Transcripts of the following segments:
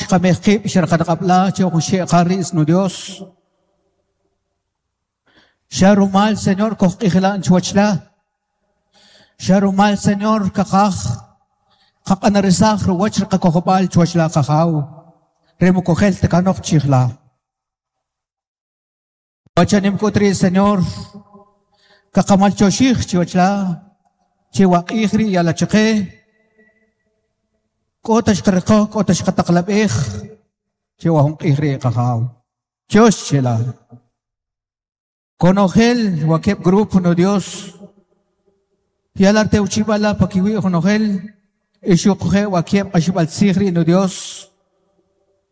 Xqamej qib' xerqanq'ab'la che jun xe'qar no Dios. Xa rumal, Señor, kojq'ijlan chuwachla. Xa rumal, Señor, kaqaj qaq'anarisaj ruwach riqakojob'al chuwachla qajaw. Remukojel takanoq chijla. Wachanim k'ut ri' Señor, kaqamaltyoxij chiwachla, chiwaq'ij ri' yala chaqe. K'o ta xqariqoj, k'o ta xqataqlab'ej, chiwa jun q'ij ri' qajaw. Tyox chela. Konojel wakeb' grupo no Dios. Yala tewchib'ala pakiwi' jonojel, ixuquje' wakeb' q'axib'al tzij ri' no Dios.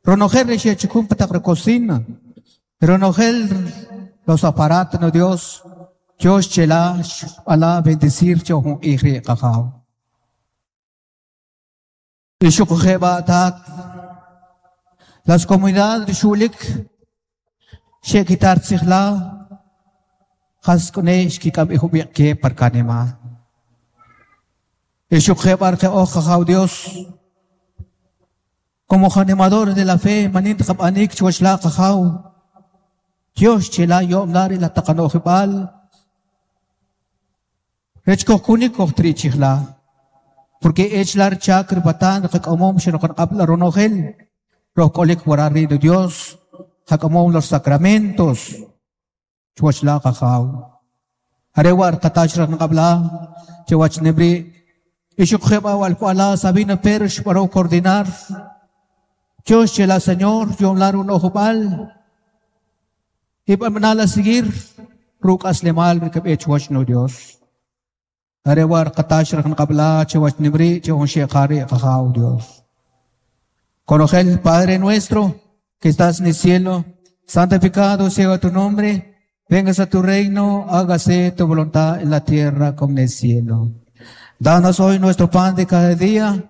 Ronojel ri xechukun pa taq ri cocina. Ronojel los aparatos no Dios. Tyox chela xb'ala bendecir cho jun q'ij ri' qajaw. Ixuquje' b'a' las comunidades ri xulik xe'kitar tzijla qas k'une xkik'am ijub'iq ke par kanima. Ixuquje' b'a' oj qajaw Dios como animadores de la fe manin tqab'anik chuwach la qajaw Dios chela yo'm la ri la taqanojib'al rech kojkunik kojtri chijla porque ech la chak ripatan qak'amom xeroqanq'ab' la ronojel roj k'olik waral ri' de Dios qak'amom los sacramentos chuwach la qajaw are wa' qatach raqanq'ab' la chuwach nimri ixuquje' b'a' walk'wa'la Sabino Pérez xb'anow coordinar Dios chela Señor yom la runojub'al ib'anala seguir ruk'aslemal rikab'e chuwach no Dios are wa' qatach raqanq'ab' la chuwach nimri che jun xe'qari qajaw Dios. Konojel Padre nuestro que estás en el cielo, santificado sea tu nombre, vengas a tu reino, hágase tu voluntad en la tierra como en el cielo. Danos hoy nuestro pan de cada día,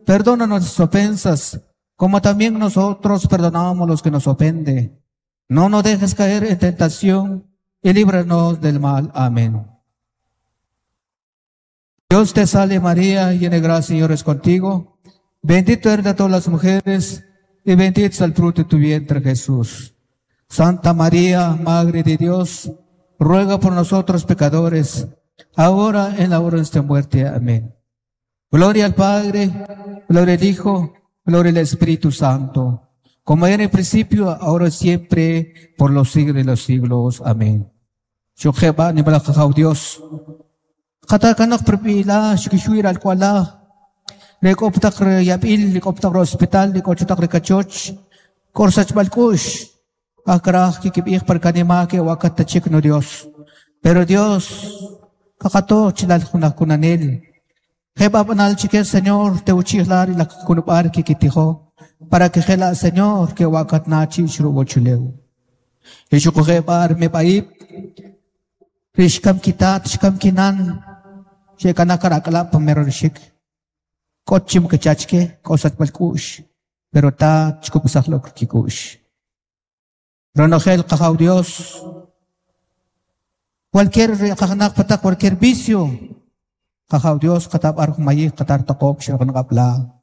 perdona nuestras ofensas, como también nosotros perdonamos a los que nos ofenden. No nos dejes caer en tentación y líbranos del mal. Amén. Dios te salve María, llena de gracia, Señor es contigo. Bendito eres de todas las mujeres y bendito es el fruto de tu vientre, Jesús. Santa María, Madre de Dios, ruega por nosotros pecadores, ahora en la hora de nuestra muerte. Amén. Gloria al Padre, gloria al Hijo, gloria al Espíritu Santo, como era en el principio, ahora y siempre, por los siglos de los siglos. Amén. Shukeba ni balakaw Dios. Katakanok pripila, shikishuir al kuala. Rekoptak yabil, rekoptak hospital, rekochotak rekachoch, korsach balkush. Akraj kikibij par kanima ke wakatachik no Dios. Pero Dios, kakato chilal kunanel. Jeba banal chique Señor, te uchihlar y la kunubar kikitijo, para que jela Señor que wakatnachi shrubochuleu. Ishukujebar me paip, rishkam kitat, shkam kinan, shekanakarakala pamerorishik. Kochim kachachke, kosat balkush, pero ta chkupusaklo kikush. Ronojel qajaw Dios, cualquier qajnaq patak, cualquier vicio, qajaw Dios, qatab arjumayij, qatar taqob, shirqanqabla.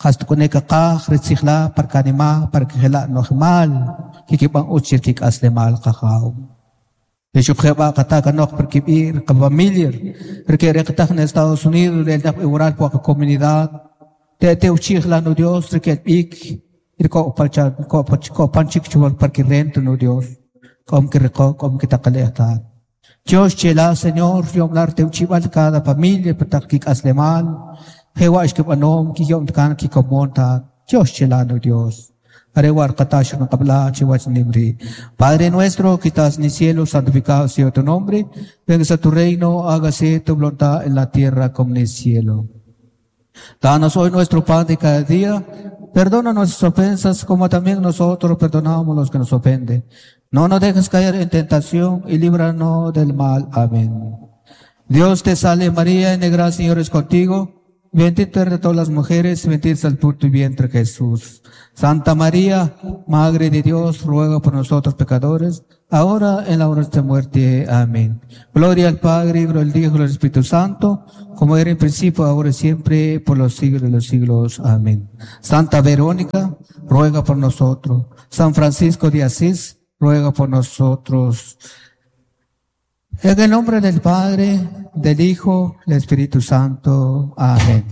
Qastukune qaqaj, ritzijla, parkanima, parkijela nojmal, kikiban uchir kik'aslemal qajaw. Ixuqjeba qatakanoj perkib'ir, qafamiliar, rike en Estados Unidos, el igual por comunidad, te te uchijla no Dios, rike ik, irko palcha, ko ko panchik chuwal parquirrento no Dios, com que reco, com que taqaleta. Dios chela Señor, yom te uchibal cada familia, patak kik'aslemal, jewa ishkib anom, ki yom tkan ki komonta, Dios chela no Dios. Arewar qatash qabla chiwach nimri. Padre nuestro que estás en el cielo, santificado sea tu nombre. Venga a tu reino, hágase tu voluntad en la tierra como en el cielo. Danos hoy nuestro pan de cada día. Perdona nuestras ofensas como también nosotros perdonamos a los que nos ofenden. No nos dejes caer en tentación y líbranos del mal. Amén. Dios te salve María, en gracia, Señor es contigo. Bendita eres de todas las mujeres, bendito es el fruto de tu vientre Jesús. Santa María, Madre de Dios, ruega por nosotros pecadores, ahora en la hora de nuestra muerte. Amén. Gloria al Padre, gloria al Hijo, gloria al Espíritu Santo, como era en principio, ahora y siempre, por los siglos de los siglos. Amén. Santa Verónica, ruega por nosotros. San Francisco de Asís, ruega por nosotros. En el nombre del Padre, del Hijo, del Espíritu Santo. Amén.